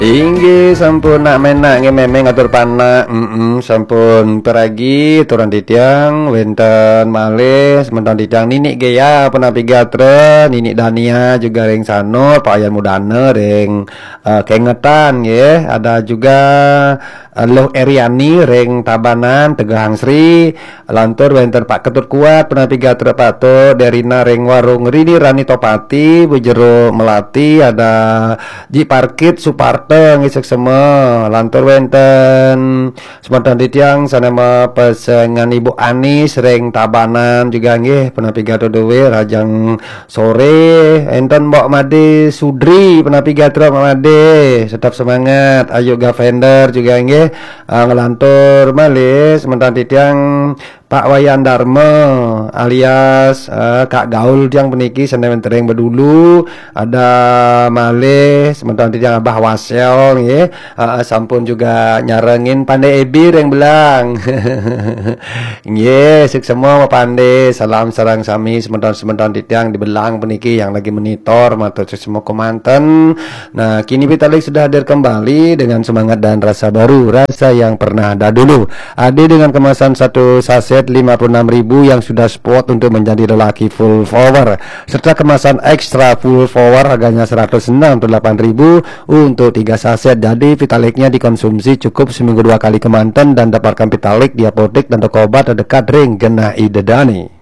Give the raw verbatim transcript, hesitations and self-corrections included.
Inggih sampun nak menak nggih memeng atur panak. Mm-mm, sampun peragi turun titiang wenten malih semeton titiang Nini Gea punapa gatra, Nini Dania juga ring Sanur, Pak Yan Mudana ring eh, Kengetan nggih, ada juga eh, Luh Eriani ring Tabanan, Tegahang Sri, lantur wenten Pak Ketut Kuat, punapi gatra patut, Derina ring Warung Rini Rani Topati, Bu Jero Melati, ada Ji Parkit Suparta nggih suksema, lantur wenten semeton titiang sane mapesengan Ibu Anis ring Tabanan juga nggih, punapi gatra duwe, Rajang sore, enten Mbok Made Sudri, punapi gatra Mbok Made, tetap semangat. Ayu Gavender juga nggih, eh, nglantur malih semeton titiang Pak Wayan Darma alias eh, Kak Gaul tiang puniki sane wenten ring Bedulu, ada malih semeton titiang Abah Wasel nggih, eh, sampun juga nyarengin Pande Ebi ring Belang. Nggih, suksema Pak Pande, salam sareng sami semeton-semeton titiang di Belang puniki yang lagi monitor, matur suksema kemanten. Nah, kini Vitalik sudah hadir kembali dengan semangat dan rasa baru, rasa yang pernah ada dulu. Adi dengan kemasan satu saset lima puluh enam ribu yang sudah spot untuk menjadi lelaki full power, serta kemasan extra full power harganya seratus enam puluh delapan ribu untuk tiga saset. Jadi Vitaliknya dikonsumsi cukup seminggu dua kali kemanten dan dapatkan Vitalik di apotek dan toko obat terdekat ring genah Ida Dani.